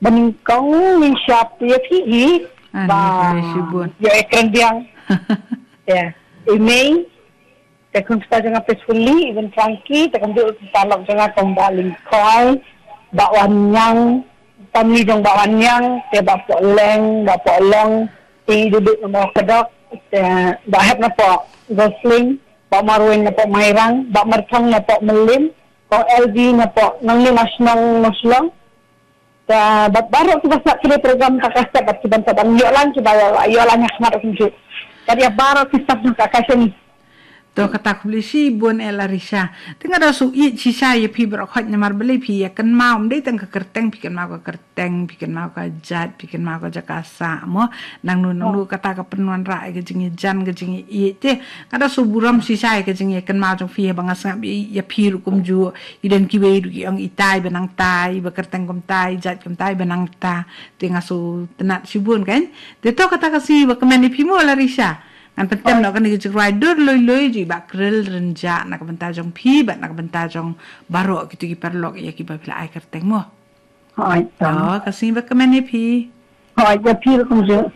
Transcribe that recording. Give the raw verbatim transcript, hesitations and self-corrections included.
Banyngkong ngin shap ïa phi hi. Ah, ba, khublei shibun. Ïa, eh, kren biang. Ya. I mei. Te khun sa jong nga Peacefully, Even Frankie, te kumjuh ki paralok jong nga kum Bah Lyngkhoi, Bah Wanniang, family jong Bah Wanniang, te Bah Pohleng, Bah Pohlong, te i duduk na Bah Kadok, te Bah Hep na Bah Gosling, Bah Marwin na Bah Mairang, Bah Marthong na Bah Melim, Kong L V na Bah Nangni Mashnong Moslong. Te bad baroh kiba sngap ïa program Kakaisa bad kiban sa ban ïoh lang kiba ïoh, ïoh lang ïa khmat kumjuh. Bad ïa baroh ki staff jong Kakaisa ni. To kata khublei shibun eh Larisha. Te nga da shu ïeit shisha ïa phi baroh khoit namar balei phi ïa kynmaw ym dei tang ka kyrteng phi kynmaw ka kyrteng phi kynmaw ka jait phi kynmaw ka jaka sah mo. Nangno nangno kata ka pynwanrah ïa ka jingïajan ka jingïaieit te. Nga da shu burom shisha ïa ka jingïakynmaw jong phi haba nga sngap ïa, ïa phi ruh kumjuh. I don kiwei ruh ki ong itai ba nangtai, ba kyrteng kumtai, jait kumtai ba nangta. Te nga sngewtynnat shibun kan. Te to kata ka sngi ba kmen ïa phi mo Larisha. Ngan pyntem noh kane ka jingrwai dur lui lui jong i Bah Khril Rynjah na ka bynta jong phi bad na ka bynta jong baroh kito ki paralok ïa kiba phi la ai kyrteng mo. Hooid. To ka sngi ba kmen ïa phi. Hooid, ïa phi ruh kumjuh.